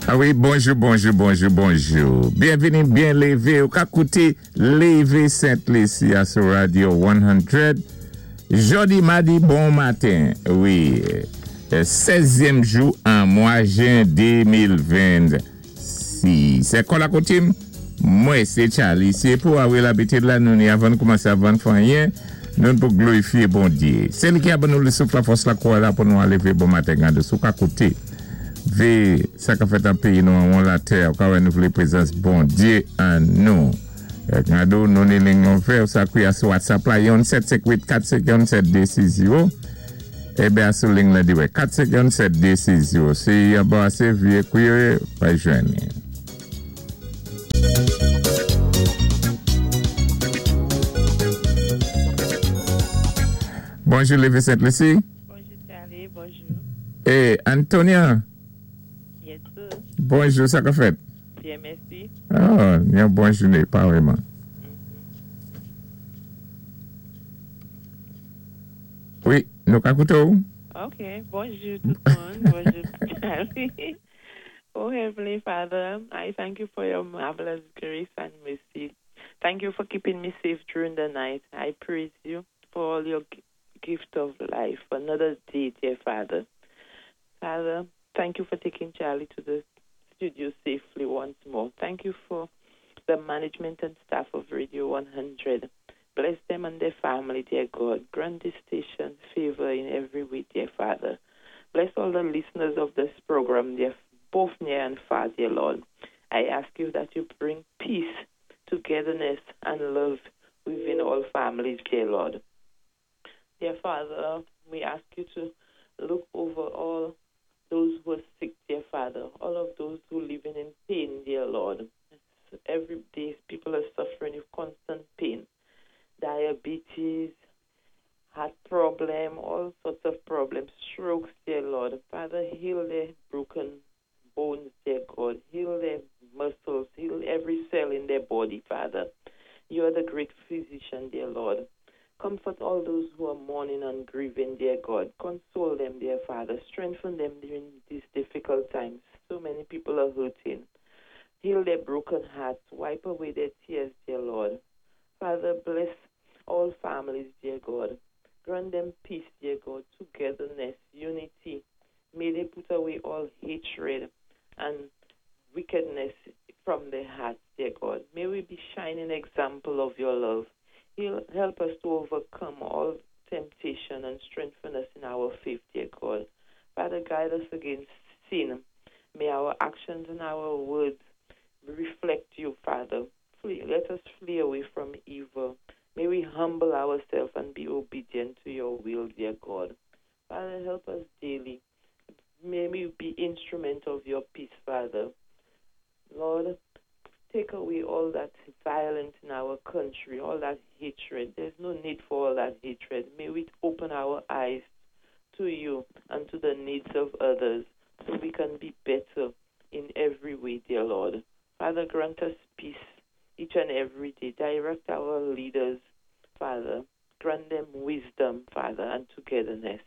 A wi, bonjou, bonjou, bonjou, bonjou. Byenvini, byen lévé. Ou ka kouté Lévé Sent Lisi a sou Radio 100. Jòdi madi bon maten. Wi, 16zyèm jou an mwa jen 2026. Se kò la koutim, mwen sé Charly. Se pou a wi labitid la nou ni avan n koumansé avan n fè anyen, nou pou glorifié Bondyé. Se li ki a ban nou le souf, la fòs, la kouray la pou nou a lévé bon maten gade si w ka kouté ve sa ka fèt an péyi nou anwon latè ou ka wè nou vlé prezans Bondyé an nou. Gade w nou ni ling lan ouvè ou sa kouya sou WhatsApp la yon 7 5 8 4 5 yon 7 2 6 0 eben a sou ling lan dirèk 4 5 yon 7 2 6 0 si yon bò ase vye kouye pa jwenn li. Bonjou Leve Sent Lisi. Bonjou Charly, bonjou. E Antonia. Yes sir. Bonjou, sa ka fèt? Byen mèsi. Oh, yon bon jounen, pa vrèman. Wi, nou ka koute ou. Ok, bonjou tout moun, bonjou Charly. Oh Heavenly Father, I thank you for your marvelous grace and mercy. Thank you for keeping me safe during the night. I praise you for all your gift of life, another day, dear Father. Father, thank you for taking Charlie to the studio safely once more. Thank you for the management and staff of Radio 100. Bless them and their family, dear God. Grant this station favor in every way, dear Father. Bless all the listeners of this program, dear, both near and far, dear Lord. I ask you that you bring peace, togetherness, and love within all families, dear Lord. Dear Father, we ask you to look over all those who are sick, dear Father, all of those who are living in pain, dear Lord. Every day people are suffering with constant pain, diabetes, heart problem, all sorts of problems, strokes, dear Lord. Father, heal their broken bones, dear God. Heal their muscles, heal every cell in their body, Father. You are the great physician, dear Lord. Comfort all those who are mourning and grieving, dear God. Console them, dear Father. Strengthen them during these difficult times. So many people are hurting. Heal their broken hearts. Wipe away their tears, dear Lord. Father, bless all families, dear God. Grant them peace, dear God, togetherness, unity. May they put away all hatred and wickedness from their hearts, dear God. May we be shining example of your love. He'll help us to overcome all temptation and strengthen us in our faith, dear God. Father, guide us against sin. May our actions and our words reflect you, Father. Flee, let us flee away from evil. May we humble ourselves and be obedient to your will, dear God. Father, help us daily. May we be instrument of your peace, Father. Lord, take away all that violence in our country, all that hatred. There's no need for all that hatred. May we open our eyes to you and to the needs of others so we can be better in every way, dear Lord. Father, grant us peace each and every day. Direct our leaders, Father. Grant them wisdom, Father, and togetherness.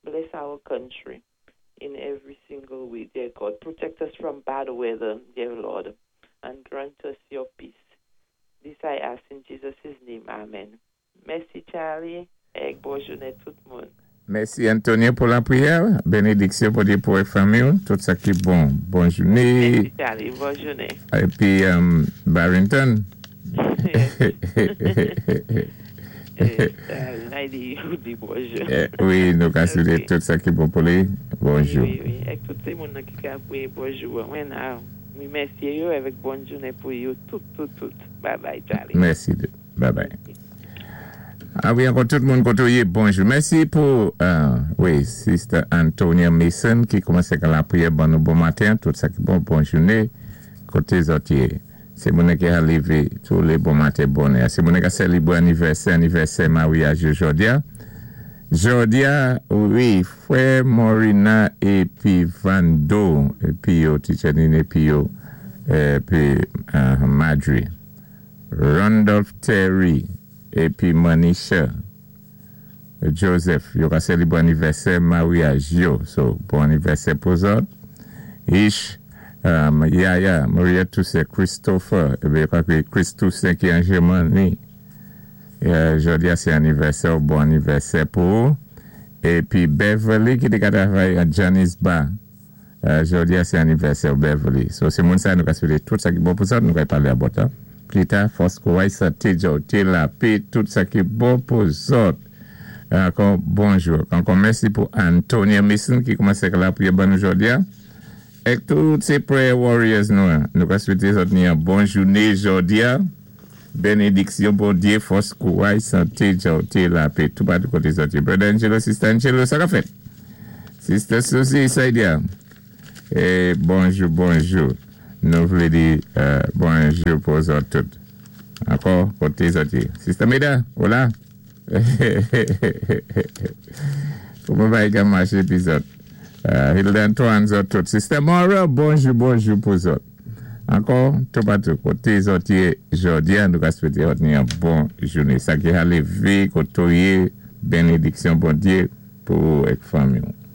Bless our country in every single way, dear God. Protect us from bad weather, dear Lord, and grant us your peace. This I ask in Jesus' name. Amen. Mèsi, Charlie. É bon jounen tout moun. Mèsi, Antonio, pou lapriyè. Benediksyon pou Dye pou fanmi, tout sa ki bon. Bòn jounen. Mèsi, Charlie. Bòn jounen. Épi, Barrington. Di bonjou. Wi, nou ka swete tout sa ki bon pou li. Bonjou. Wi. É tout moun ki ka priye bonjou. Mwen, wi, mèsi yo avèk bòn jounen pou yo tout, tout, tout. Bye bye, Charlie. Mèsi. Bye bye. A wi, ankò tout moun kote w ye, bonjou. Mèsi pou, wi, Sister Antonia Mason ki koumanse ak lapriyè ban nou bon maten, tout sa ki bon, bòn jounen, kote zòt ye. Se moun ki a lévé tou lé bon maten bonè. Se moun ki a selebre anivèsè, anivèsè maryaj yo jòdi a. Jòdi a, wi, frè Morina épi Vando, épi yo, Teacher Nini épi yo, épi Madri. Randolph Terry épi Manisha Joseph yo ka selebre anivèsè maryaj yo. So, bon anivèsè pou zòt. Ish. Yaya, Maria Toussaint, Christopher, ébi yo ka ékwi Chris Toussaint ki an Jèmani. Jòdi-a sé anivèsè-w, bon anivèsè pou ou. Épi Beverly ki té ka travay an Johnny's Bar. Jòdi-a sé anivèsè-w, Beverly. So sé moun sa nou ka swété tout sa ki bon pou zòt, nou kay palé about la plita. Fòs, kouray, santé, djòwté, lapé, tout sa ki bon pou zòt. Ankò bonjou. Ankò mèsi pou Antonia Mason ki koumansé ak lapriyè ban nou jòdi-a. Èk tout sé prayer warriors nou an, nou ka swété zòt ni yon bon jouné jòdi-a. Bénédiksyon Bondyé, fòs, kouray, santé, djòwté, lapé toupatou koté zòt yé. Brother Angelo, Sister Angelo, sa ka fèt? Sister Susie, Saidia, e bonjou, bonjou. Nou vlé di bonjou pou zòt tout. Ankò, koté zòt yé? Sister Meda, ou la? Kouman bagay ka maché pi zòt? Hilda Antoine, zòt tout. Sister Moral, bonjou, bonjou pou zòt. Ankò, toupatou koté zòt yé jòdi a, nou ka swété zòt ni yon bon jouné. Sa ki ka lévé koté w yé, benediksyon Bondyé pou ou èk fanmi w.